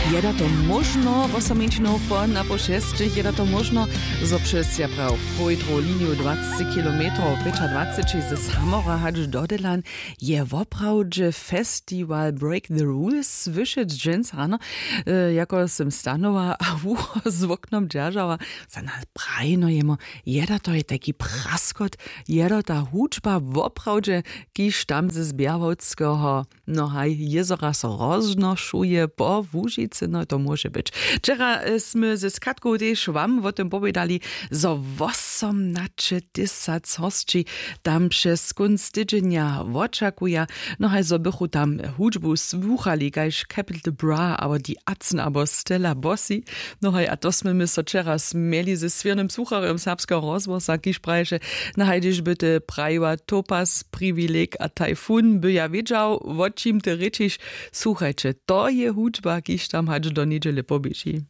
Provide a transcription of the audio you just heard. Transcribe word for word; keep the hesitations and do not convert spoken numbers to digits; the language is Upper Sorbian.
Je da to móžno wosominčinow po napoł šestych je da to móžno, zo přez ja praw połdru liniju dwaceći kilometrow pěćadwaceći ze samora hač do delan je woprawdźe festiwal break the rules słyšeć dźens rano. Jako sym stanowa a wucho z woknom dźeržała, za nas prajno jemo, je da to je tajki praskot, je da ta hudźba woprawdźe, kiž tam ze zběrwalskeho no haj jězora so roznošuje po łužicy no to móže być. Wčera smy ze skatkow tež wam wo tym powědali, zo wosomnaćetysac hosći tam přez kónc tydźenja wočakuja. No haj zo bychu tam hudźbu słuchali kaž capital bra abo the atzen abo stella bossi. No haj a to smy my so wčera smjeli ze swěrnym słucharjom serbskeho rozhłosa kiž praješe, na haj hdyž by ty prajiła topaz priwileg a tajfun by ja wědźał wo čim ty rěčiš. Słuchajće, to je hudźba kiž tam hač do njedźele poběži.